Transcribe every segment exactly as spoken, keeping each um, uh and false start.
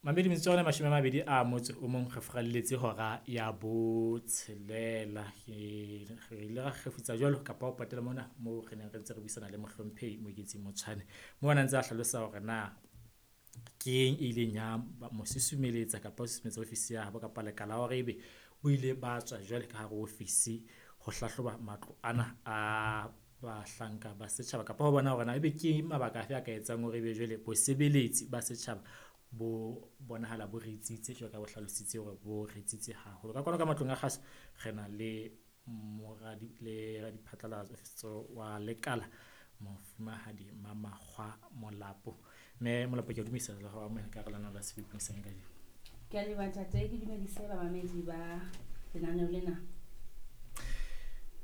Mamedi metsotso ya rona e mashome a mabedi a motso o mong re furalletse hora ya botshelela. Ke re ile ra kgefutsa jwalo kapa ho patela mona moo re neng re ntse re buisana le mohlomphehi Moeketsi Motshwane. Moo a na ntse a hlalosa hore na keng e ileng ya mo susumeletsa kapa ho susumetsa ofisi ya habo kapa lekala hore ebe o ile ba tswa jwale ka hare ho ofisi ho hlahloba matlo ana a bahlanka ba setjhaba kapa ho bona hore na ebe ke mabaka afe a ka etsang hore ebe jwale bosebeletsi ba setjhaba bo bonahala bo ritsitse jwalo ka bo hlalositse hore bo ritsitse haholo. Ka kwano ka matlong a kgaso re na le moradi le radiphatlalatso wa lekala Mofumahadi Mamakgwa Molapo. Mme Molapo ke a dumedisa le ho amohela ka hara lenaneo la Sebopong sa kajeno. Ke a leboha ntate, ke dumedise bamamedi ba lenaneo lena.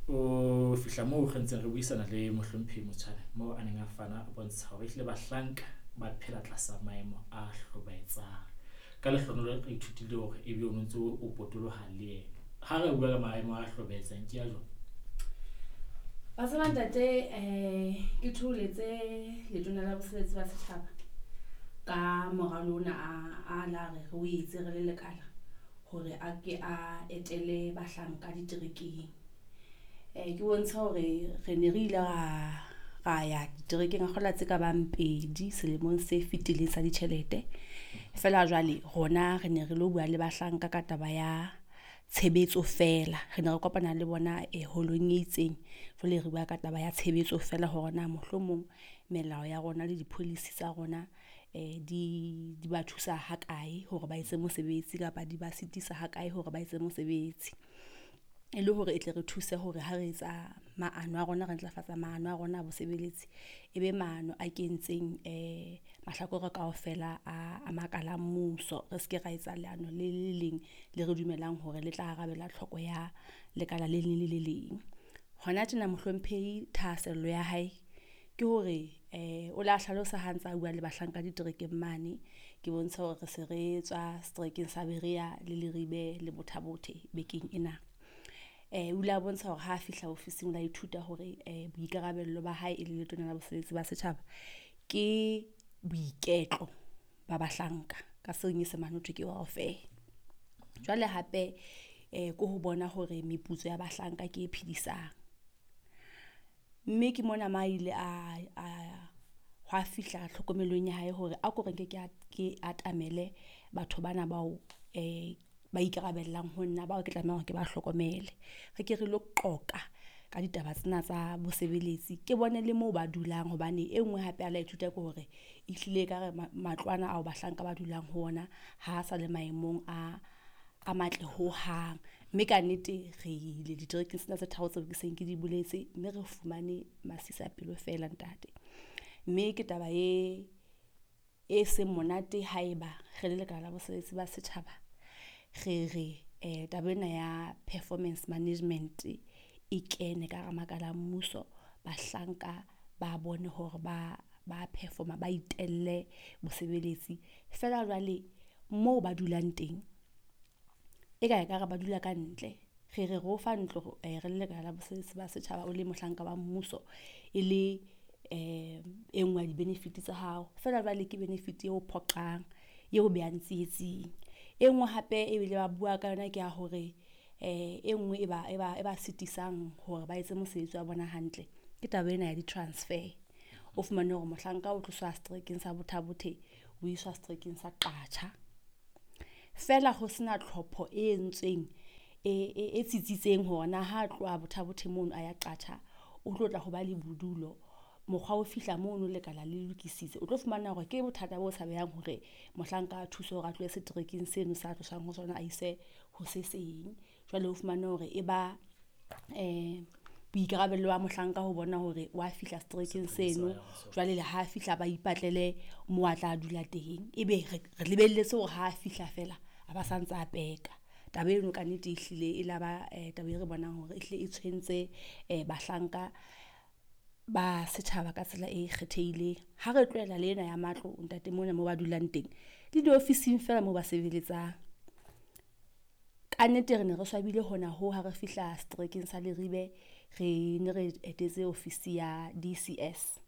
O fihla moo re ntseng re buisana le mohlomphehi Motshwane moo a neng a fana a bontsha hore ehlile bahlanka ba phela tlasa maemo a hlobaetsang. Ka lehlohonolo re ithutile hore ebe o ntso o potoloha le yena. Ha re bua ka maemo a hlobaetsang ke a jwang? Wa tseba ntate, eh ke thoholetse letona la bosebeletsi ba setjhaba ka moralo ona a, a la re re o etse re le lekala hore a ke a etele bahlanka diterekeng. Eh ke bontsha hore re ne re ile ra, ra ya diterekeng a kgola tse ka bang pedi selemong se fetileng sa ditjhelete. Feela jwale rona re ne re lo bua le bahlanka ka taba ya tshebetso fela. Re ne re kopana le bona e holong e itseng. Jwale re bua ka taba ya tshebetso fela hore na mohlomong melao ya rona le di-policy tsa rona eh di di ba thusa ha kae hore ba etse mosebetsi kapa di ba sitisa ha kae hore ba etse mosebetsi. E le hore e tle re thuse hore ha re etsa maano a rona, re ntlafatsa maano a rona a bosebeletsi, e be maano a kentseng eh mahlakore kaofela a, a makala a mmuso. Re seke ra etsa leano le le leng le re dumelang hore le tla arabela tlhoko ya lekala le leng le le leng. Hona tjena mohlomphehi thahasello ya hae ke hore eh o la hlalosa ha ntsa bua le bahlanka diterekeng mane. Ke bontsha hore re se re tswa seterekeng sa Berea le Leribe le Botha Bothe bekeng ena. Eh o ile a bontsha hore ha fihla ofising o la ithuta hore eh boikarabello ba hae e le letona la bosebeletsi ba setjhaba ke boiketlo ba bahlanka ka senyesemane ho thwe ke welfare. Jwale hape eh ke ho bona hore meputso ya bahlanka ke e phedisang. Mme ke mona ma ile a a hwa fihla tlhokomelong ya hae hore a ko re nke ke ke atamele batho bana bao eh ba ikarabellang ho nna, bao ke tlamehang hore ke ba hlokomele. Re ke re lo qoqa ka ditaba tsena tsa bosebeletsi, ke bone le moo ba dulang hobane e nngwe hape a la ithuta ke hore ehlile ekare matlo ana ao bahlanka ba dulang ho ona ha sa le maemong a a matle ho hang. Mme ka nnete re ile diterekeng tsena tse tharo tseo ke seng ke di boletse, mme re fumane masisapelo fela ntate. Mme ke taba e e seng monate haeba re le lekala la bosebeletsi ba setjhaba, re re eh taba ena ya performance management e kene ka hara makala a mmuso. Bahlanka ba bone hore ba ba perform-a, ba itelle bosebeletsi. Feela jwale moo ba dulang teng, e ka ekare ba dula ka ntle. Re re re o fa ntlo re le lekala la bosebeletsi ba setjhaba, o le mohlanka wa mmuso, e le eh e nngwe ya di-benefit tsa hao. Feela jwale ke benefit eo phoqang, eo behang tsietsing. E nngwe hape ebile ba bua ka yona ke ya hore eh e nngwe e ba e ba e ba sitisang hore ba etse mosebetsi wa bona hantle, ke taba ena ya di-transfer. O fumane hore mohlanka o tloswa seterekeng sa Botha Bothe o iswa seterekeng sa Qacha. Feela ho sena tlhopho e entsweng e e tsitsitseng hore na ha tloha Botha Bothe mono a ya Qacha, o tlo tla ho ba le bodulo. Mokgwa o fihla mono lekala le lokisitse, o tlo fumana hore ke bothata bo tshabehang hore mohlanka a thuswe hore a tlohe seterekeng seno sa tloswang ho sona, a iswe ho se seng. Jwale o fumane hore e ba eh boikarabelo ba mohlanka ho bona hore wa fihla seterekeng seno. Jwale le ha fihla ba ipatlele mo a tla dula teng, ebe re lebelletse hore ha fihla fela a ba santsa a peka. Taba eno ka nnete e hlile e laba taba e re bonang hore ehlile e tshwentse eh bahlanka ba setjhaba ka tsela e kgethehileng. Ha re tlohela le ena ya matlo ntate mona moo ba dulang teng le diofising fela moo ba sebeletsang. Ka nnete re ne re swabile hona ho ha re fihla seterekeng sa Leribe, re ne re etetse ofisi ya D C S.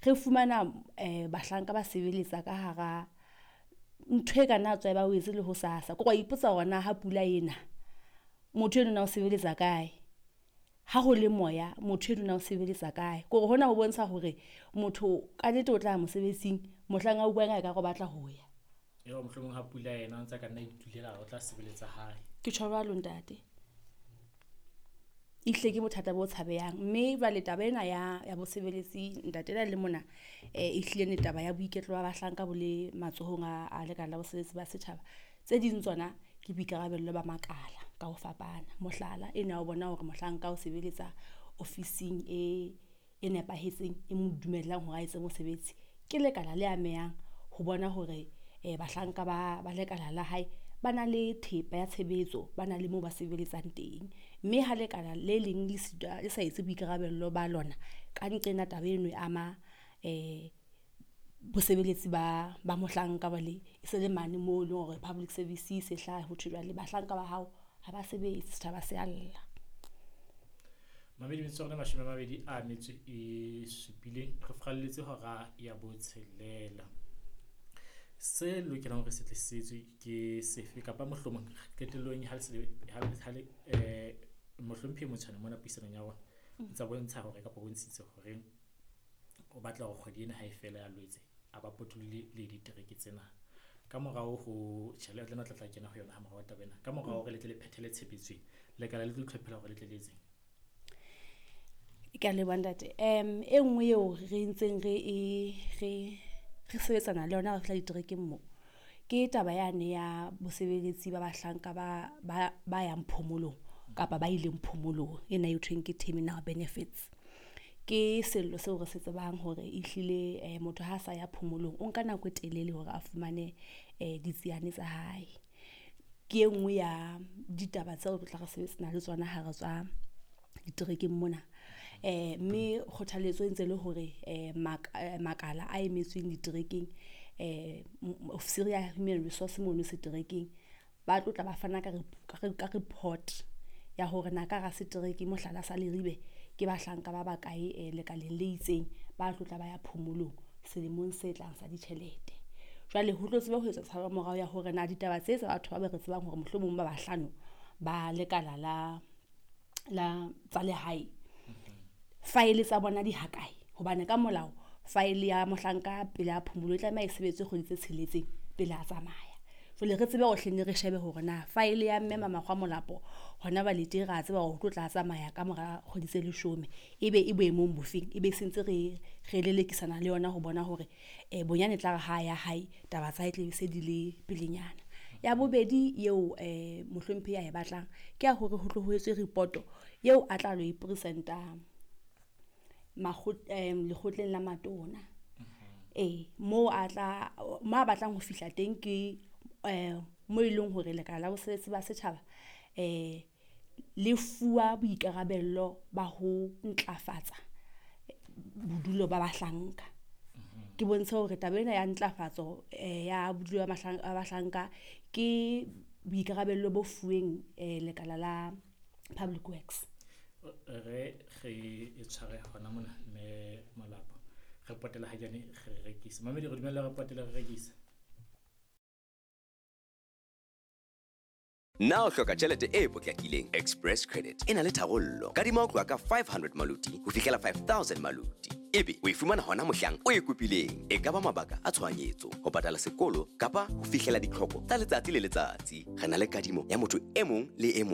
Re fumana eh bahlanka ba sebeletsa ka hara ntho e ka nna tswa e ba o etse le ho sasa. Ko wa ipotsa hore na ha pula ena motho eno na o sebeletsa kae, ha ho le moya motho eno na o sebeletsa kae. Kore hona ho bontsha hore motho ka nnete o tla mosebetsing mohlang a utlwang a ekare o batla ho ya. Eo mohlomong ha pula ena o ntsa ka nna itulela o tla sebeletsa hae. Ke tjho jwalo ntate. Ehlile ke bothata bo tshabehang, mme jwale taba ena ya ya bosebeletsi ntate ena le mona eh ehlile ne taba ya boiketlo ba bahlanka bo le matsohong a a lekala la bosebeletsi ba setjhaba. Tse ding tsona ke boikarabello ba makala ka ho fapana. Mohlala ena o bona hore mohlanka o sebeletsa ofising e e nepahetseng e mo dumellang hore a etse mosebetsi. Ke lekala le amehang ho bona hore eh bahlanka ba ba lekala la hae ba na le thepa ya tshebetso, ba na le moo ba sebeletsang teng. Mme ha lekala le leng le sitwa le sa etse boikarabello ba lona, ka nqena taba eno e ama eh bosebeletsi ba ba mohlanka ba le e se le mane moo e leng hore public service se hlaha ho thwe jwale bahlanka ba hao ha ba sebetse, setjhaba se a lla. Mamedi metsotso ya rona mashome a mabedi a metso e supileng, re furalletse hora ya botshelela. Se lokelang hore se tle se etswe ke sefe kapa mohlomong qetellong ha le se ha le ha le eh mohlomphehi Motshwane mona puisanong ya rona o ntsa bontsha hore kapa bontshitse hore o batla hore kgwedi ena ha e fela ya Lwetse a ba potolohile le ditereke tsena. Ka morao ho tjhelete ena tla tla kena ho yona ha morao taba ena. Ka morao hore le tle le phethele tshebetso ena, lekala le tlo itlhophela hore le tle le etseng. Ke a leboha ntate. Em e nngwe eo re ntseng re e re re sebetsana le yona re fihla diterekeng mo ke taba yane ya bosebeletsi ba bahlanka ba ba ba yang phomolong kapa ba ileng phomolong ena e thweng ke terminal benefits. Ke sello seo re se tsebang hore ehlile eh, motho ha sa ya phomolong o nka nako e telele hore a fumane eh, ditsiane tsa hae. Ke e nngwe ya ditaba tseo re tla re sebetsana le tsona ha re tswa diterekeng mona. Eh mme kgothaletso e ntse le hore eh makala a emetsweng diterekeng eh ofisiri ya human resource mono seterekeng ba tlo tla ba fana ka ka report ya hore na ka hara setereke mohlala sa Leribe ke bahlanka ba bakae eh, lekaleng le itseng ba tlo tla ba ya phomolong selemong se tlang sa ditjhelete. Jwale ho tlo tseba ho etsa tshabo morao ya hore na ditaba tse tsa batho ba be re tsebang hore mohlomong ba bahlano ba lekala la la tsa lehae faele tsa bona di hakae, hobane ka molao faele ya mohlanka pele a phomolo e tlameha e sebetse kgwedi tse tsheletseng pele a tsamaya. Jwale re tsebe hore hlenne re shebe hore na faele ya mme Mamakgwa Molapo hona ba lete ra tseba hore o tlo tla tsamaya ka mora kgwedi tse leshome ebe e boemong bofeng, ebe sentse re re lelekisana le yona ho bona hore eh bonyane tla re ha ya hae taba tsa hae tle se di le pelenyana. Ya bobedi eo eh mohlomphehi a e batlang ke ya hore ho tlo ho etswe report eo a tla lo e presenta lekgotleng la matona. Eh mo a tla mo a batlang ho fihla teng ke eh mo e leng hore lekala la bosebeletsi ba setjhaba eh le fuwa boikarabello ba ho ntlafatsa bodulo ba bahlanka. Ke bontshe hore taba ena ya ntlafatso ya bodulo ba bahlanka ke boikarabello bo fuweng lekala la Public Works. Re re e tshware hona mona mme Molapo re potela ha jane re rekisa. Mamedi re dumella re potela re rekisa. Na o hloka tjhelete e potlakileng? Express Credit e na le tharollo. Kadima ho tloha ka five hundred maluti ho fihlela five thousand maluti. Ebe o e fumana hona mohlang o e kopileng. E ka ba mabaka a tshohanyetso, ho patala sekolo kapa ho fihlela ditlhoko tsa letsatsi le letsatsi. Re na le kadimo ya motho e mong le e mong.